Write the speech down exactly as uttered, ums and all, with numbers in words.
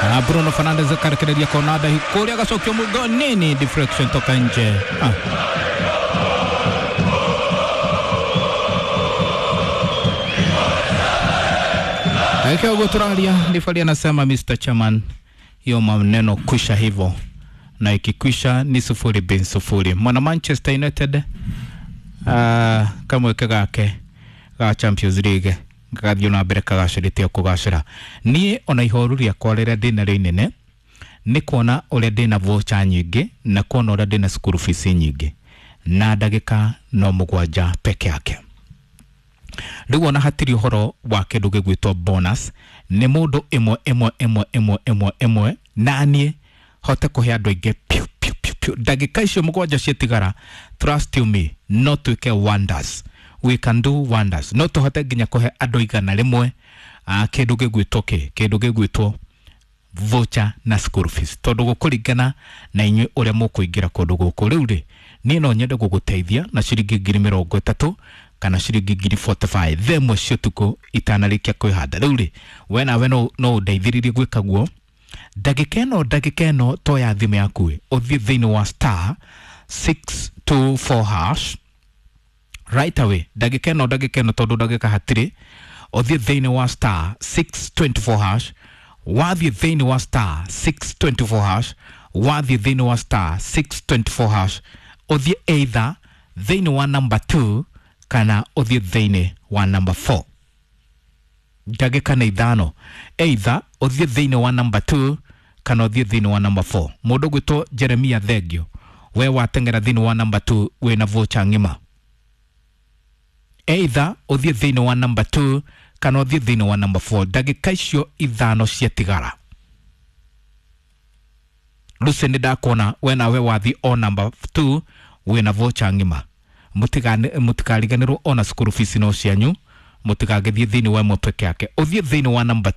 Ah, Bruno Fernandes akarekereria kona ndahi kũrĩa agacokio mũgo nini, deflection toka nje. Ah. Dakika ũguo tũraria, rifari anasema Mister Chairman, hiyo maneno kwisha hivyo, na ikikwisha ni sufuri bin sufuri. Mwana Manchester United uh, kamweke gake ga Champions League gathiĩ na mbere kagacĩrĩte o kũgacĩra. Niĩ ona ihoru rĩakwa rĩrĩa ndĩnarĩo inene nĩ kuona ũrĩa ndĩna voucher nyingĩ na kuona ũrĩa ndĩna school fees nyingĩ na ndagĩka no mũgwanja peke yake. Rĩu ona hatirĩ ũhoro wa kĩndũ gĩgwĩtwo bonus, nĩ mũndũ ĩmwe ĩmwe ĩmwe ĩmwe ĩmwe ĩmwe, na niĩ hote kũhe andũ aingĩ piu piu piu piu. Ndagĩka icio mũgwanja ciatigara, trust you me, no twĩke wonders, we can do wonders. No tũhote nginya kũhe andũ igana rĩmwe ah, kĩndũ gĩgwĩtwo kĩ kĩndũ gĩgwĩtwo voucher na school fees, tondũ gũkũringana na inyuĩ ũrĩa mũkũingĩra kũndũ gũkũ. Rĩu rĩ, niĩ no nyende gũgũteithia na ciringi ngiri mĩrongo ĩtatũ kana ciringi ngiri mĩrongo ĩna na ithano thaa ĩmwe cia ũtukũ itanarĩkia kwĩhanda. Rĩu rĩ, we nawe no no ũndeithĩrĩrie gwĩka guo. Ndagĩka ĩno, ndagĩka ĩno, toya thimũ yaku ĩ, ũthiĩ thĩinĩ wa star six two four hash right away. Ndagĩka ĩno, ndagĩka ĩno, tondũ ndagĩka hatirĩ. Ũthiĩ thĩinĩ wa star six two four hash, wathiĩ thĩinĩ wa star six two four hash, wathiĩ thĩinĩ wa star six two four hash, ũthiĩ either thĩinĩ wa number two kana ũthiĩ thĩinĩ wa number four. Ndagĩka nĩ ithano. Either ũthiĩ thĩinĩ wa number two kana ũthiĩ thĩinĩ wa number four. Mũndũ gwĩtwo Jeremia Thengio, we wateng'era thĩinĩ wa number two, wĩna voucher ng'ima. Either ũthiĩ thĩinĩ wa number two kana ũthiĩ thĩinĩ wa number four. Ndagĩka icio ithano ciatigara. Lucy, nĩ ndakuona, we nawe wathiĩ o number two, wĩna voucher ng'ima. Mũtikariganĩrwo ona school fees no cianyu. Mũtigagĩthiĩ thĩinĩ wa ĩmwe peke yake, ũthiĩ thĩinĩ wa number